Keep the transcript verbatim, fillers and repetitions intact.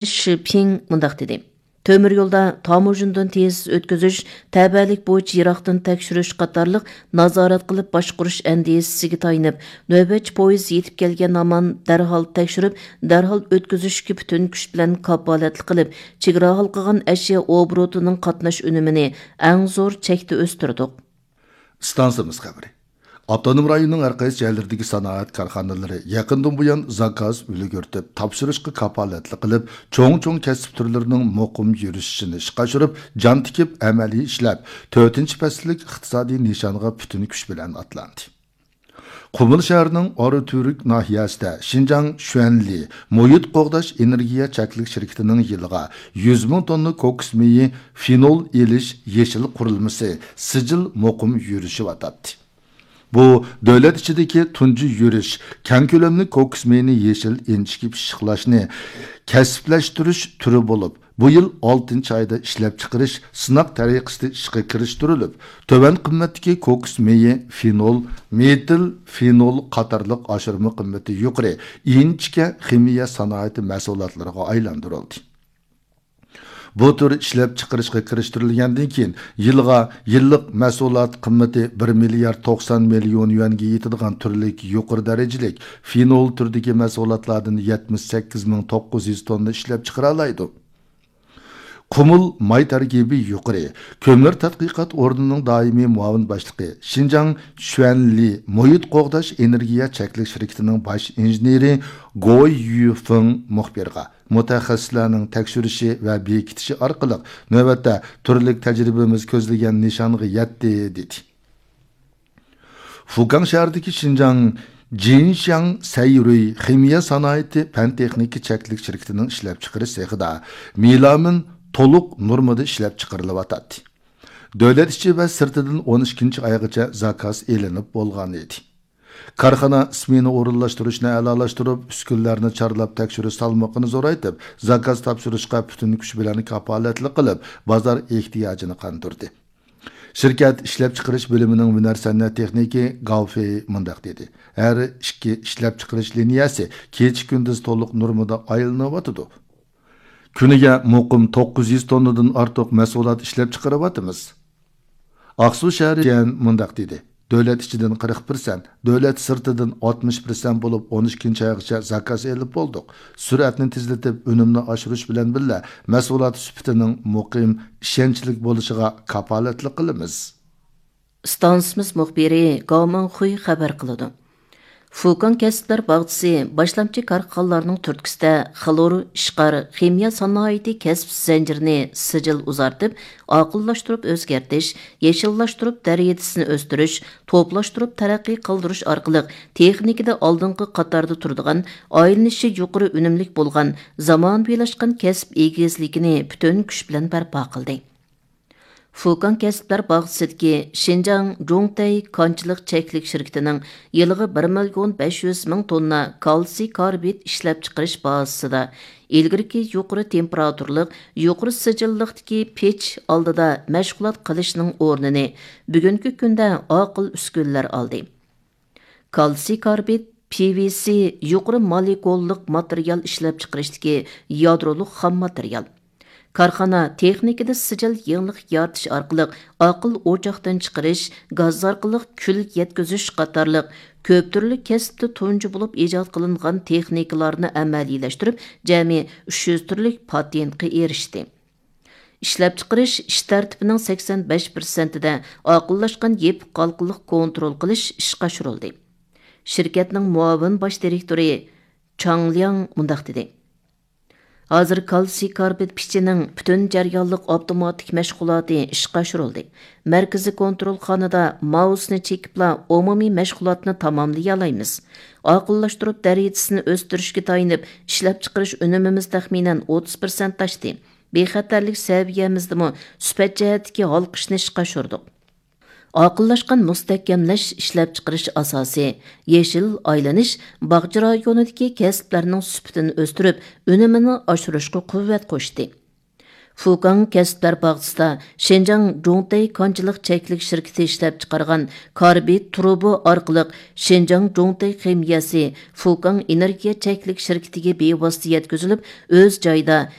شى پىڭ مۇنداق دېدى: تۆمۈر يولدا تاموژنىدىن تېز ئۆتكۈزۈش، تەۋەلىك بويىچە يىراقتىن تەكشۈرۈش قاتارلىق نازارەت قىلىپ باشقۇرۇش ئەندىزىسىگە تايىنىپ، نۆۋەتچى پويىز يېتىپ كەلگەن ھامان دەرھال تەكشۈرۈپ، دەرھال ئۆتكۈزۈشكە پۈتۈن كۈچ بىلەن كاپالەتلىك قىلىپ، چېگرا ھالقىغان ئەشيا ئوبوروتىنىڭ قاتناش ئۈنۈمىنى ئەڭ زور چەكتە ئۆستۈردۇق. ئىستانسىمىز خەۋىرى. ئاپتونوم رايوننىڭ ھەر قايسى جايلىرىدىكى سانائەت كارخانىلىرى يېقىندىن بۇيان زاكاز ئۈلگۈرتۈپ، تاپشۇرۇشقا كاپالەتلىك قىلىپ، چوڭ-چوڭ كەسىپ تۈرلىرىنىڭ مۇقىم يۈرۈشۈشىنى ئىشقا ئاشۇرۇپ، جان تىكىپ ئەمەلىي ئىشلەپ، تۆتىنچى پەسىللىك ئىقتىسادىي نىشانغا پۈتۈن كۈچ بىلەن ئاتلاندى. قۇمۇل شەھىرىنىڭ ئاراتۈرك ناھىيەسىدە شىنجاڭ شۈەنلى مۇھىت قوغداش ئېنېرگىيە چەكلىك شىركىتىنىڭ يىلىغا يۈز مىڭ توننا كوكۇس مېيى فېنول ئېلىش يېشىل قۇرۇلمىسى سىجىل مۇقىم يۈرۈشۈۋاتاتتى. بۇ دۆلەت ئىچىدىكى تۇنجى يۈرۈش كەڭ كۆلەملىك كوكۇس مېيىنى يېشىل ئىنچىكە پىششىقلاشنى كەسىپلەشتۈرۈش تۈرى بولۇپ، بۇ يىل ئالتىنچى ئايدا ئىشلەپچىقىرىش سىناق تەرىقىسىدە ئىشقا كىرىشتۈرۈلۈپ، تۆۋەن قىممەتتىكى كوكۇس مېيى فېنول، مېتىل فېنول قاتارلىق ئاشۇرما قىممىتى يۇقىرى ئىنچىكە خىمىيە سانائىتى مەھسۇلاتلىرىغا ئايلاندۇرۇلدى. بۇ تۈر ئىشلەپچىقىرىشقا كىرىشتۈرۈلگەندىن كېيىن، يىلغا، يىللىق مەھسۇلات قىممىتى بىر مىليارد توقسان مىليون يۈەنگە يېتىدىغان تۈرلۈك يۇقىرى دەرىجىلىك فېنول تۈرىدىكى مەھسۇلاتلاردىن يەتمىش سەككىز مىڭ توققۇز يۈز توننا ئىشلەپچىقىرالايدۇ. قۇمۇل ماي تەركىبى يۇقىرى كۆمۈر تەتقىقات ئورنىنىڭ دائىمىي مۇئاۋىن باشلىقى، شىنجاڭ شۈەنلى مۇھىت قوغداش ئېنېرگىيە چەكلىك شىركىتىنىڭ باش ئىنژېنېرى گوي يۈفېڭ مۇخبىرغا، مۇتەخەسسىسلەرنىڭ تەكشۈرۈشى ۋە بېكىتىشى ئارقىلىق نۆۋەتتە تۈرلۈك تەجرىبىمىز كۆزلىگەن نىشانغا يەتتى، دېدى. فۇكاڭ شەھىرىدىكى شىنجاڭ جىنشياڭ سەيرۇي خىمىيە سانائىتى پەن تېخنىكا چەكلىك شىركىتىنىڭ ئىشلەپچىقىرىش سېخىدا مېلامىن تولۇق نورمىدا ئىشلەپچىقىرىلىۋاتاتتى. دۆلەت ئىچى ۋە سىرتىدىن ئون ئىككىنچى ئايغىچە زاكاز ئېلىنىپ بولغان ئىدى. كارخانا ئىسمېنا ئورۇنلاشتۇرۇشنى ئەلالاشتۇرۇپ، ئۈسكۈنىلەرنى چارلاپ تەكشۈرۈش سالمىقىنى زورايتىپ، زاكاز تاپشۇرۇشقا پۈتۈن كۈچ بىلەن كاپالەتلىك قىلىپ، بازار ئېھتىياجىنى قاندۇردى. شىركەت ئىشلەپچىقىرىش بۆلۈمىنىڭ ھۈنەر سەنئەت تېخنىكى گاۋ فېي مۇنداق دېدى: ھەر ئىككى ئىشلەپچىقىرىش لىنىيەسى كېچە-كۈندۈز تولۇق نورمىدا ئايلىنىۋاتىدۇ. كۈنىگە مۇقىم توققۇز يۈز توننىدىن ئارتۇق مەھسۇلات ئىشلەپچىقىرىۋاتىمىز. ئاقسۇ شەھىرى جيەن مۇنداق دېدى: دۆلەت ئىچىدىن قىرىق پىرسەنت، دۆلەت سىرتىدىن ئاتمىش پىرسەنت بولۇپ، ئون ئىككىنچى ئايغىچە زاكاز ئېلىپ بولدۇق. سۈرئەتنى تېزلىتىپ، ئۈنۈمنى ئاشۇرۇش بىلەن بىللە، مەھسۇلات سۈپىتىنىڭ مۇقىم، ئىشەنچلىك بولۇشىغا كاپالەتلىك قىلىمىز. ئىستانسىمىز مۇخبىرى گاۋ مىڭخۇي خەۋەر قىلىدۇ. فۇكاڭ كەسىپلەر باغچىسى باشلامچى كارخانىلارنىڭ تۈرتكىسىدە خلور، ئىشقار، خىمىيە سانائىتى كەسىپ زەنجىرىنى سىجىل ئۇزارتىپ، ئاقىللاشتۇرۇپ ئۆزگەرتىش، يېشىللاشتۇرۇپ دەرىجىسىنى ئۆستۈرۈش، توپلاشتۇرۇپ تەرەققىي قىلدۇرۇش ئارقىلىق تېخنىكىدا ئالدىنقى قاتاردا تۇرىدىغان، ئايلىنىشى يۇقىرى ئۈنۈملۈك بولغان، زامانىۋىلاشقان كەسىپ ئېگىزلىكىنى پۈتۈن كۈچ بىلەن بەرپا قىلدى. فۇكاڭ كەسىپلەر باغچىسىدىكى شىنجاڭ جۇڭتەي كانچىلىق چەكلىك شىركىتىنىڭ يىلىغا بىر مىليون بەش يۈز مىڭ توننا كالتسىي كاربىد ئىشلەپچىقىرىش بازىسىدا ئىلگىرىكى يۇقىرى تېمپېراتۇرىلىق، يۇقىرى سىجىللىقتىكى پېچ ئالدىدا مەشغۇلات قىلىشنىڭ ئورنىنى بۈگۈنكى كۈندە ئاقىل ئۈسكۈنىلەر ئالدى. كالتسىي كاربىد، پى ۋى سى يۇقىرى مولېكۇللۇق ماتېرىيال ئىشلەپچىقىرىشتىكى يادرولۇق خام ماتېرىيال. كارخانا تېخنىكىدا سىجىل يېڭىلىق يارىتىش ئارقىلىق ئاقىل ئوچاقتىن چىقىرىش، گاز ئارقىلىق كۈل يەتكۈزۈش قاتارلىق كۆپ تۈرلۈك كەسىپتە تۇنجى بولۇپ ئىجاد قىلىنغان تېخنىكىلارنى ئەمەلىيلەشتۈرۈپ، جەمئىي ئۈچ يۈز تۈرلۈك پاتېنتقا ئېرىشتى. ئىشلەپچىقىرىش ئىش تەرتىپىنىڭ سەكسەن بەش پىرسەنتىدە ئاقىللاشقان يېپىق ھالقىلىق كونترول قىلىش ئىشقا ئاشۇرۇلدى. شىركەتنىڭ مۇئاۋىن باش دىرېكتورى چاڭ لياڭ مۇنداق دېدى: ھازىر كالتسىي كاربىد پېچىنىڭ پۈتۈن جەريانلىق ئاپتوماتىك مەشغۇلاتى ئىشقا ئاشۇرۇلدى. مەركىزىي كونترولخانىدا مائۇسنى چېكىپلا ئومۇمىي مەشغۇلاتنى تاماملىيالايمىز. ئاقىللاشتۇرۇپ دەرىجىسىنى ئۆستۈرۈشكە تايىنىپ، ئىشلەپچىقىرىش ئۈنۈمىمىز تەخمىنەن ئوتتۇز پىرسەنت ئاشتى. بىخەتەرلىك سەۋىيەمىزدىمۇ سۈپەت جەھەتتىكى ھالقىشنى ئىشقا ئاشۇردۇق. ئاقىللاشقان مۇستەھكەملەش ئىشلەپچىقىرىش ئاساسى، يېشىل ئايلىنىش باغچە رايونىدىكى كەسىپلەرنىڭ سۈپىتىنى ئۆستۈرۈپ، ئۈنۈمىنى ئاشۇرۇشقا قۇۋۋەت قوشتى. فۇكاڭ كەسىپلەر باغچىسىدا شىنجاڭ جۇڭتەي كانچىلىق چەكلىك شىركىتى ئىشلەپچىقارغان كاربىد تۇرۇبا ئارقىلىق شىنجاڭ جۇڭتەي خىمىيەسى فۇكاڭ ئېنېرگىيە چەكلىك شىركىتىگە بىۋاسىتە يەتكۈزۈلۈپ، ئۆز جايىدا